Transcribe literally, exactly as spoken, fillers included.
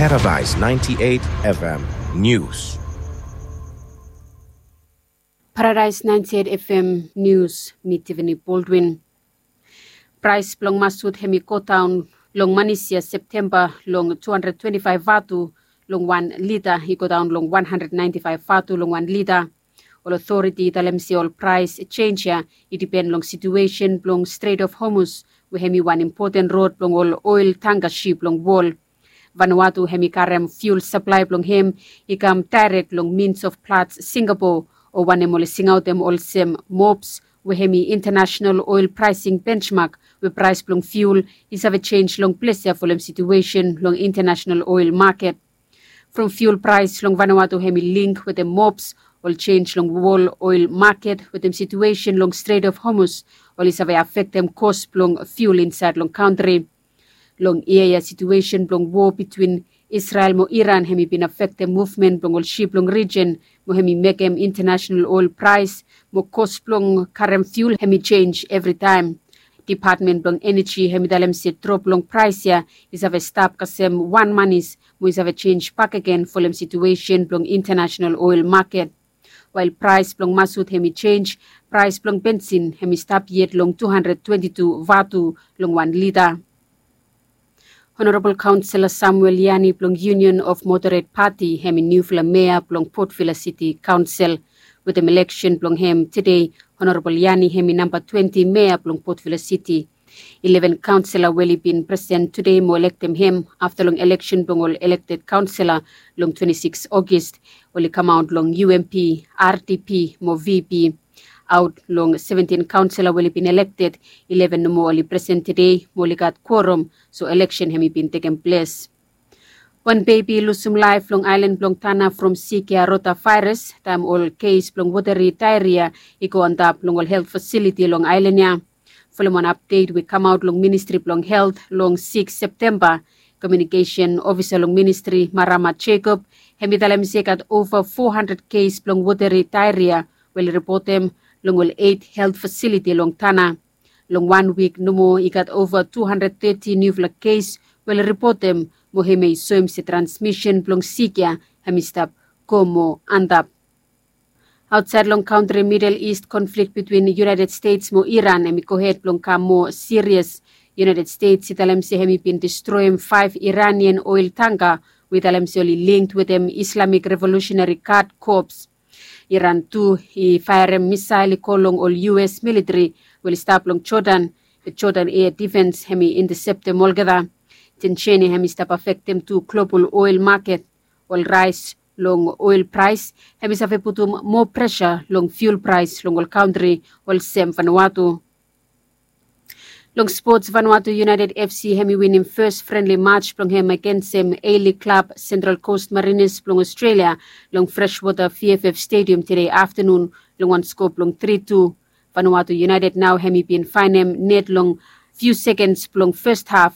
Paradise ninety-eight F M News. Paradise ninety-eight F M News, mi Tiffany Baldwin. Prais blong masut hem i go daon long manis ya Septemba long two hundred twenty-five vatu long wan lita, i go daon long one hundred ninety-five vatu long wan lita. Ol otoriti i talem se ol prais jenis ya i dipen long situesen blong Strait of Hormuz, we hem i wan impoten rod blong ol oel tangka sip long wol. Vanuatu hem i karem fiul saplae blong hem i kam daerek long Mines of Platts, Singapore, o wanem oli singaotem olsem MOPS, we hem i International Oil Pricing Benchmark, we prais blong fiul i save jenis long ples ya folem situesen long international oil maket. From fiul prais long Vanuatu hem i link wetem MOPS, ol jenis long wol oil maket wetem situesen long Strait of Hormuz, oli save afektem kos blong fiul insaed long kantri. Long yia ya situesen blong wo bitwin Israel mo Iran hem i bin afektem muvmen blong ol sip long rijen, mo hem i mekem international oil prais mo kos blong karem fiul hem i jenis evritaem. Dipatmen blong Eneji hem i talem se drop long prais ya i save stap kasem wan manis mo i save jenis bakegen folem situesen blong international oil maket. Wael prais blong masut hem i jenis, prais blong bensin hem i stap yet long two hundred twenty-two vatu long wan lita. Honorabol Kaonsela Samuel Yani blong Union of Moderate Party hem i niufala mea blong Port Vila City Kaonsel. Wetem eleksen blong hem tede, Honorabol Yani hem i namba twenty mea blong Port Vila City. Ileven kaonsela we oli bin presen tede mo elektem hem afta long eleksen blong ol elekted kaonsela long twenty-six Ogis, oli kamaot long U M P, R D P mo V P. Aot long seventin kaonsela we oli bin elekted, ileven nomo oli presen tede mo oli gat kuorom, so eleksen hem i bin tekem ples. Wan bebi i lusum laef long aelan blong Tana from sik ya rotavaeras, taem ol kes blong woteri daeria i go antap long ol helt fasiliti long aelan ya. Folem wan apdet we i kamaot long Ministri blong Helt long sikis Septemba, komiunikesen ofisa long ministri, Marama Jacob, hem i talem se i gat ova fo handred kes blong woteri daeria we oli ripotem long ol eit helt fasiliti long Tana. Long wan wik nomo i gat ova tu handred teti niufala kes we oli ripotem, mo hemia i soem se transmisen blong sik ya hem i stap go moa antap. Aotsaed long kantri, Midel Ist konflik bitwin United States mo Iran hem i gohed blong kam moa sirias. United States i talem se hem i bin distroem faef Iranian oel tangka we i talem se oli link wetem Islamic Revolutionary Guard Corps. Iran tu i faerem misael i go long ol U S militeri we oli stap long Jordan. Be Jordan Air Defense hem i inteseptem olgeta. Tensen ya hem i stap afektem tu global oel maket. Ol raes long oel prais hem i save putum moa presa long fiul prais long ol kantri olsem Vanuatu. Long spots, Vanuatu United F C hem i winim fes frenli mats blong hem agensem A-League klab Central Coast Mariners blong Australia long Freshwater V F F Stadium tede aftanun long wan sko blong tri tu. Vanuatu United nao hem i bin faenem net long fiu sekens blong fes haf